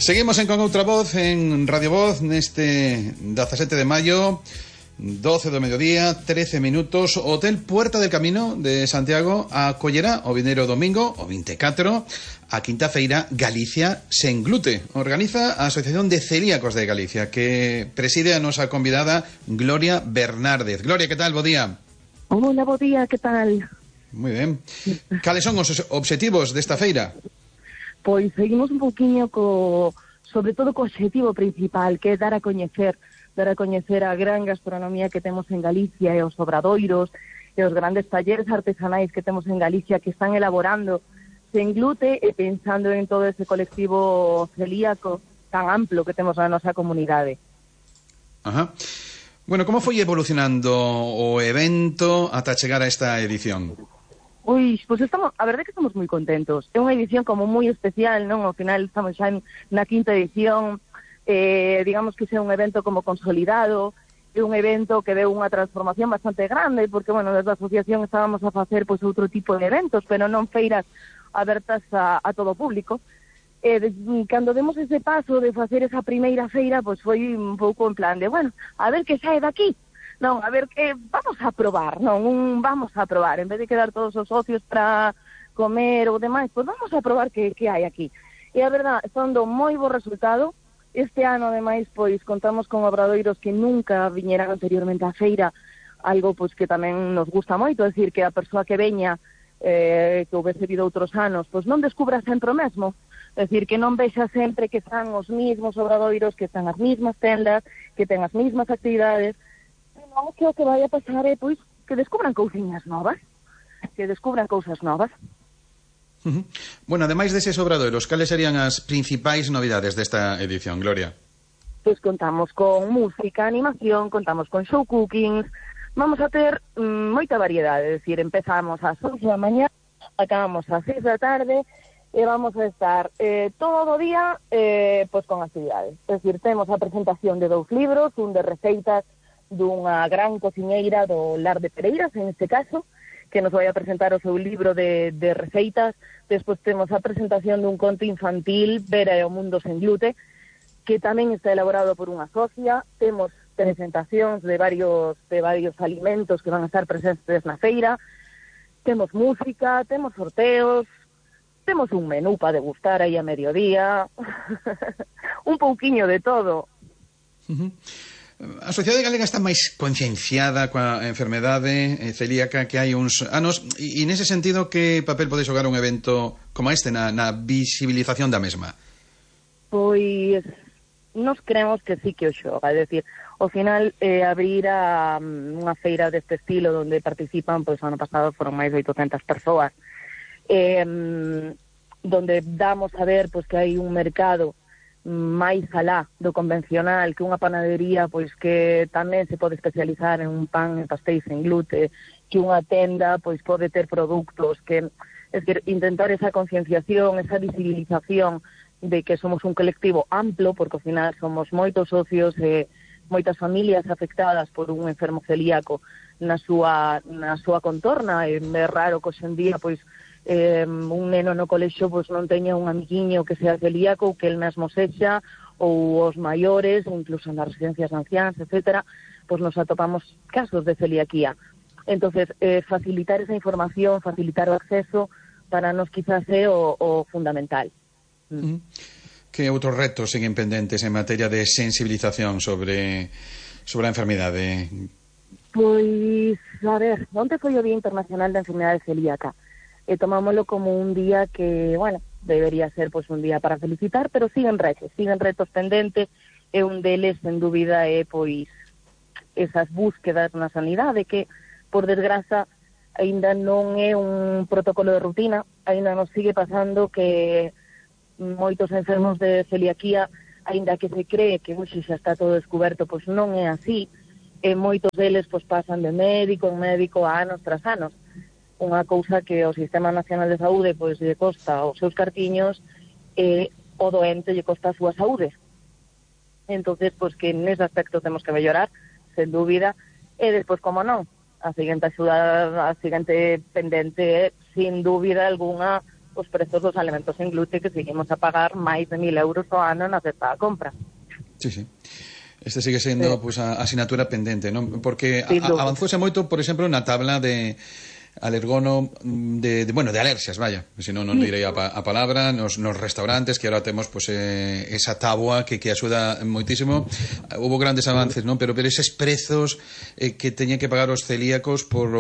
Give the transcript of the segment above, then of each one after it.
Seguimos en Con Outra Voz, en Radio Voz, neste 17 de maio, 12 do mediodía, 13 minutos. Hotel Puerta del Camino de Santiago acollerá o vindeiro domingo, o 24, a quinta feira Galicia sen glute. Organiza a Asociación de Celíacos de Galicia, que preside a nosa convidada Gloria Bernárdez. Gloria, que tal? Bo día. Hola, bo día, que tal? Moi ben. Cales son os obxectivos desta feira? Pois seguimos un pouquiño sobre todo co obxectivo principal, que é dar a coñecer a gran gastronomía que temos en Galicia e os obradoiros e os grandes talleres artesanais que temos en Galicia que están elaborando sen glute e pensando en todo ese colectivo celíaco tan amplo que temos na nosa comunidade. Ajá. Bueno, como foi evolucionando o evento ata chegar a esta edición? Pois a verdade é que estamos moi contentos. É unha edición como moi especial, non? Ao final estamos xa na quinta edición, digamos que é un evento como consolidado, é un evento que deu unha transformación bastante grande, porque, bueno, desde a asociación estábamos a facer pois outro tipo de eventos, pero non feiras abertas a todo o público. Cando demos ese paso de facer esa primeira feira, pois foi un pouco en plan de, bueno, a ver que sae daqui. Non, a ver, vamos a probar, vamos a probar, en vez de quedar todos os socios para comer ou demais, pois vamos a probar que hai aquí. E a verdad, está dando moi bo resultado. Este ano, ademais, pois contamos con obradoiros que nunca viñeran anteriormente á feira, algo pois que tamén nos gusta moito, é dicir, que a persoa que veña, que houvese vido outros anos, pois non descubra sempre o mesmo. É dicir, que non vexa sempre que están os mismos obradoiros, que están as mismas tendas, que ten as mismas actividades. Non, que o que vai a pasar é, pois, que descubran cousiñas novas, Bueno, ademais deses obradoiros, cales serían as principais novidades desta edición, Gloria? Pois contamos con música, animación, contamos con show cookings, vamos a ter moita variedade, é dicir, empezamos ás 11 da mañá, acabamos ás 6 da tarde, e vamos a estar todo o día pois con actividades. É dicir, temos a presentación de 2 libros, un de receitas dunha gran cociñeira do Lar de Pereiras, en este caso, que nos vai a presentar o seu libro de receitas. Despois temos a presentación dun conto infantil, Vera e o mundo sen glute, que tamén está elaborado por unha socia. Temos presentacións de varios alimentos que van a estar presentes na feira. Temos música, temos sorteos, temos un menú para degustar aí a mediodía. Un pouquiño de todo. A sociedade galega está máis concienciada coa enfermedade celíaca que hai uns anos, e nese sentido, que papel pode xogar un evento como este na visibilización da mesma? Pois nos creemos que sí que o xoga, é dicir, ao final abrir unha feira deste estilo onde participan, pois o ano pasado foron máis de 800 persoas, donde damos a ver pois que hai un mercado máis alá do convencional, que unha panadería pois que tamén se pode especializar en un pan e pastéis sen glute, que unha tenda pois pode ter produtos que, es decir, intentar esa concienciación, esa visibilización de que somos un colectivo amplo, porque ao final somos moitos socios e moitas familias afectadas por un enfermo celíaco na súa contorna. É raro que hoxe en día pois un neno no colexo pois non teña un amiguiño que sea celíaco, ou que el mesmo sexa, ou os maiores, ou incluso nas residencias de anciáns, etcétera, pois nos atopamos casos de celiaquía. Entonces, facilitar esa información, facilitar o acceso, para nos quizás é o fundamental. Que outros retos siguen pendentes en materia de sensibilización sobre a enfermidade? Pois, a ver, onte foi o Día Internacional da Enfermidade Celíaca, e tomámoslo como un día que, bueno, debería ser pois un día para felicitar, pero siguen retos pendentes, e un deles, sen dúbida, é pois esas búsquedas na sanidade, que, por desgraza, aínda non é un protocolo de rutina, aínda nos sigue pasando que moitos enfermos de celiaquía, aínda que se cree que hoxe xa está todo descoberto, pois non é así, e moitos deles pois pasan de médico en médico anos tras anos. Unha cousa que o Sistema Nacional de Saúde pois lle costa os seus cartiños, e o doente lle costa a súa saúde. Entonces, pois que nese aspecto temos que mellorar, sen dúbida, e despois, como non, a seguinte axuda, a seguinte pendente é, sin dúbida algunha, os prezos dos alimentos en glute, que seguimos a pagar máis de 1.000 euros ao ano na cesta da compra. Sí, sí. Este sigue sendo pues, a asignatura pendente, non? Porque avanzouse moito, por exemplo, na tabla de alergono de alerxias, vaya, senón non direi a palabra nos restaurantes, que agora temos pues, esa táboa que axuda moitísimo. Hubo grandes avances, non? Pero eses prezos que teñen que pagar os celíacos por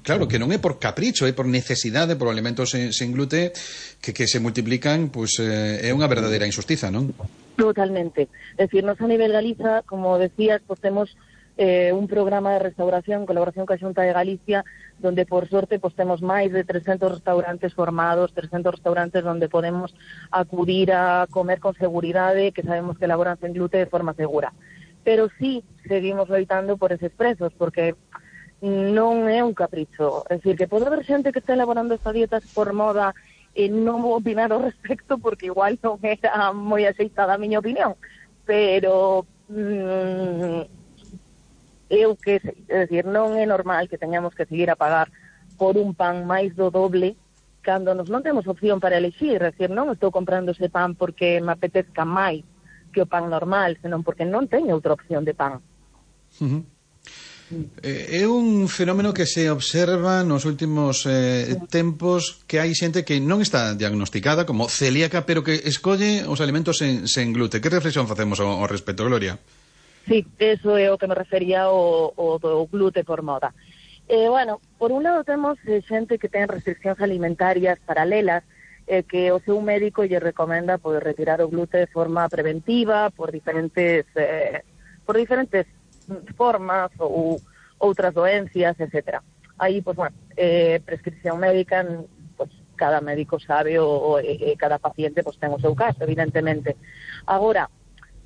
claro, que non é por capricho, é por necesidade, por alimentos sen glute que se multiplican, pues é unha verdadeira injustiza, non? Totalmente. Es decir, nos a nivel Galiza, como decías, pues temos un programa de restauración en colaboración coa Xunta de Galicia, donde por sorte pues temos máis de 300 restaurantes formados, 300 restaurantes donde podemos acudir a comer con seguridade, que sabemos que elaboran sen glute de forma segura. Pero sí seguimos loitando por eses prezos, porque non é un capricho. É dicir, que pode haber xente que está elaborando estas dietas por moda e non vou opinar ao respecto porque igual non era moi aceitada a miña opinión, pero eu que sei, é dicir, non é normal que teñamos que seguir a pagar por un pan máis do doble cando nos non temos opción para elegir, é dicir, non estou comprando ese pan porque me apetezca máis que o pan normal, senón porque non teño outra opción de pan. É un fenómeno que se observa nos últimos tempos, que hai xente que non está diagnosticada como celíaca, pero que escolle os alimentos sen glute. Que reflexión facemos ao respecto, Gloria? Sí, eso é o que me refería o do glute por moda. Bueno, por un lado temos xente que ten restriccións alimentarias paralelas, que o seu médico lle recomenda poder retirar o glute de forma preventiva por diferentes formas ou outras doencias, etcétera. Aí, pues, bueno, prescripción médica, pues, cada médico sabe cada paciente pues, ten o seu caso, evidentemente. Agora,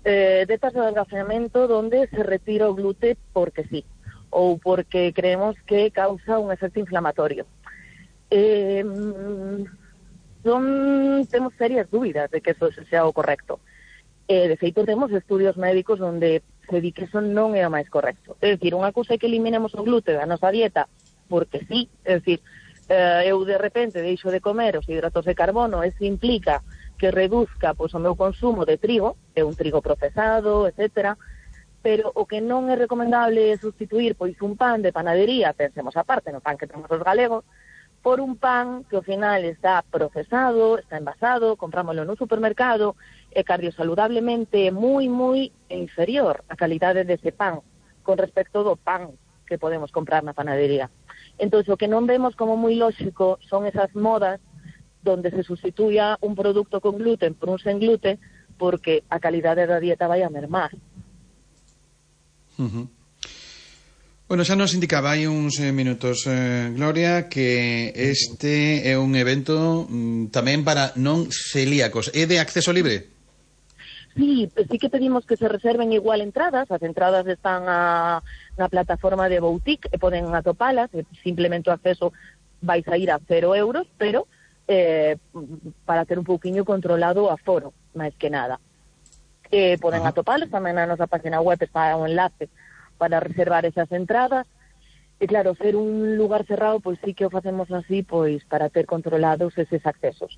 dietas de adelgazamiento donde se retira o glute porque sí, ou porque creemos que causa un efecto inflamatorio. Temos serias dúbidas de que eso sea o correcto. De feito, temos estudios médicos onde se di que eso non é o máis correcto. É dicir, unha cousa é que eliminemos o glute da nosa dieta porque sí, é dicir, eu de repente deixo de comer os hidratos de carbono, eso implica que reduzca pois, o meu consumo de trigo, é un trigo procesado, etcétera, pero o que non é recomendable é sustituir pois un pan de panadería, pensemos aparte no pan que temos os galegos, por un pan que ao final está procesado, está envasado, comprámoslo no supermercado, e cardiosaludablemente moi, moi inferior a calidade dese pan con respecto do pan que podemos comprar na panadería. Entón, o que non vemos como moi lóxico son esas modas donde se sustituya un producto con gluten por un sen gluten porque a calidade da dieta vai a mermar. Bueno, xa nos indicaba hai uns minutos, Gloria, que este é un evento tamén para non celíacos. É de acceso libre? Sí que pedimos que se reserven igual entradas. As entradas están na plataforma de Boutique e poden atopalas, simplemente o acceso vai sair a 0 euros, pero para ter un pouquiño controlado o aforo, máis que nada. Poden atopalos, tamén na nosa página web está un enlace para reservar esas entradas. E claro, ser un lugar cerrado, pois sí que o facemos así, pois para ter controlados eses accesos.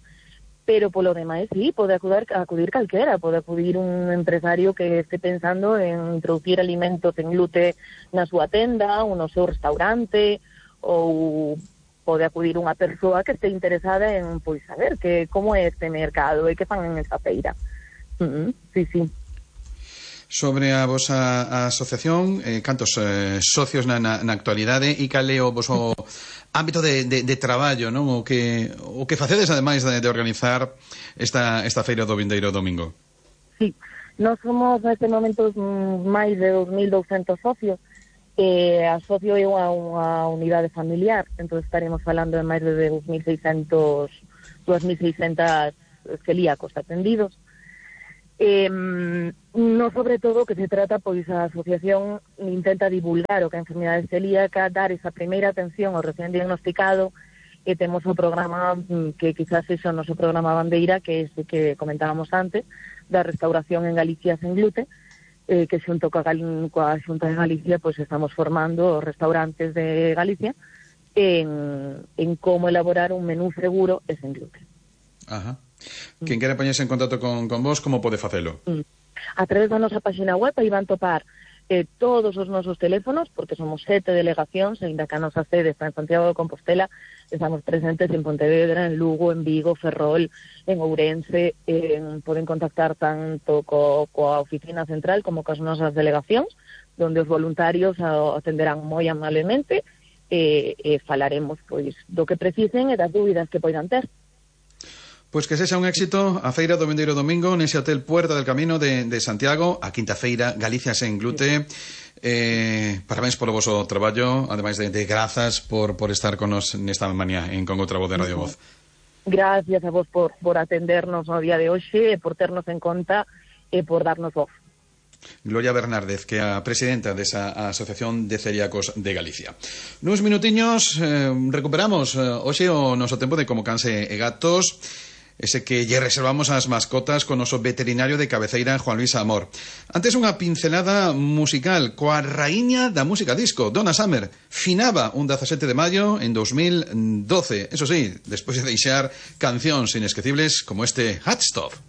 Pero polo demais, sí, pode acudir calquera, pode acudir un empresario que este pensando en introducir alimentos en glute na súa tenda, ou no seu restaurante, ou pode acudir unha persoa que este interesada en pois saber como é este mercado e que fan en esa feira. Sí. Sobre a vosa asociación, cantos socios na actualidade e cal é o voso ámbito de traballo, non? O que facedes ademais de organizar esta feira do vindeiro domingo? Sí, nós somos neste momento máis de 2.200 socios. Asocio eu a unha unidade familiar, entón estaremos falando de máis de 2.600 celíacos atendidos. No, sobre todo, que se trata, pois a asociación intenta divulgar o que é a enfermidade celíaca, dar esa primeira atención ao recién diagnosticado, e temos o programa que quizás é o noso programa bandeira, que é ese que comentábamos antes, da restauración en Galicia sen glute, que xunto coa Xunta de Galicia pois estamos formando os restaurantes de Galicia en como elaborar un menú seguro e sen gluten. Ajá. Quen quere poñerse en contacto con vos, como pode facelo? A través da nosa página web aí van topar todos os nosos teléfonos, porque somos 7 delegacións, ainda que a nosa sede está en Santiago de Compostela, estamos presentes en Pontevedra, en Lugo, en Vigo, Ferrol, en Ourense, poden contactar tanto coa oficina central como coas nosas delegacións, donde os voluntarios atenderán moi amablemente e falaremos pois do que precisen e das dúbidas que poidan ter. Pois que sexa un éxito a feira do vindeiro domingo nese hotel Puerta del Camino de Santiago, a quinta feira Galicia sen glute. Parabéns polo voso traballo, ademais de grazas por estar con nos nesta mañá en Con outra voz de Radio Voz. Gracias a vos por atendernos no día de hoxe, por ternos en conta e por darnos voz. Gloria Bernárdez, que é a presidenta desa Asociación de Celíacos de Galicia. Nuns minutiños recuperamos hoxe o noso tempo de Como Canse e Gatos, ese que lle reservamos ás mascotas con o noso veterinario de cabeceira, Juan Luis Amor. Antes unha pincelada musical coa raíña da música disco, Donna Summer. Finaba un 17 de maio en 2012. Eso sí, despois de deixar cancións inesquecibles como este Hot Stuff.